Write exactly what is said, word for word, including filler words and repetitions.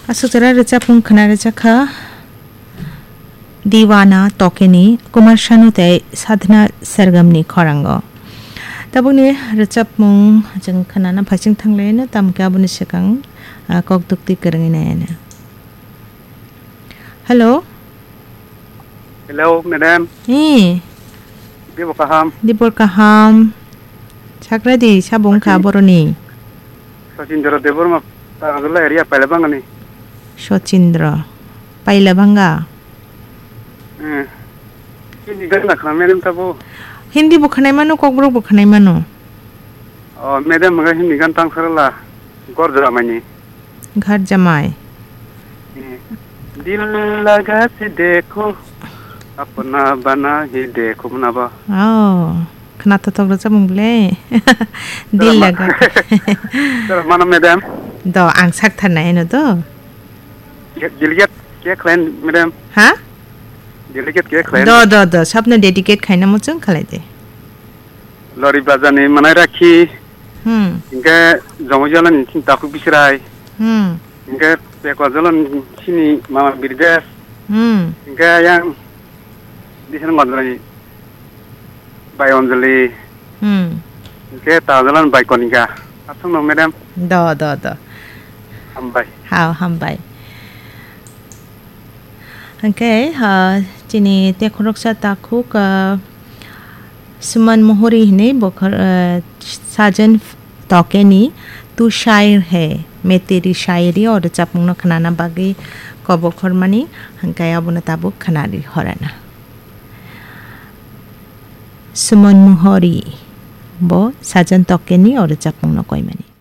Aswk jora rwchapmung khwna rwjakha Diwana Tokeni Kumar Sanu tei Sadhna Sargamni khorango. Tabukni rwchapmung chwng khwnana phaising thanglaino, tamo khe aboni swkang, ah, kok dukti kwrwngwi naiyano. Hello. Hello, madam. Eh. Dibo kaham. Dibor kaham. Sakra di, sabo wngkha Sachin-, boroni. Sachindra Debbarma, Taranjala area, Pailabangani. Sachindra. Pailabanga. Eh. Hindi gana khana madam tabo. Hindi bo khanai mano, Kokborok bo khanai mano. Oh, madam, maga Hindi gan tang sarala. Gor jora mani. Ghar jamai. Eh, dil laga se dekho, apna bana hi dekho muna ba. Oh, khna to tok rwchapmung ble. Dil laga. Sir, mano madam. Do, ang sak tharnai eno do. Delegate ke khlain, madam? Ha? Delegate ke khlain? Do, do, do, sabno dedicate khaina muchung khalai de. Lori bazani manai rakhi. Hmm. Hingke Jongojala ni sini Takhuk Bisrai. Hmm. Hingke Pekwa Jala ni sini Mama Birdes. Hmm. Hingke yang Disan Gondrani Bai Anjali. Hmm. Hingke Tajalan Bai Konika. Aswk no, madam? Do, do, do. Hambai. Hao, hambai. Hingke, ah, chini tekhoroksa takhuk, ah, Suman Mohori hinui bokhor, ah, Sajan Tokeni Tu Shair Hai, Main Teri Shairi o rwchapmungno khwnana bagwi kobokhormani, hingke abono tabuk khwnari horana. Suman Mohori bo Sajan Tokeni o rwchapmungno koimani.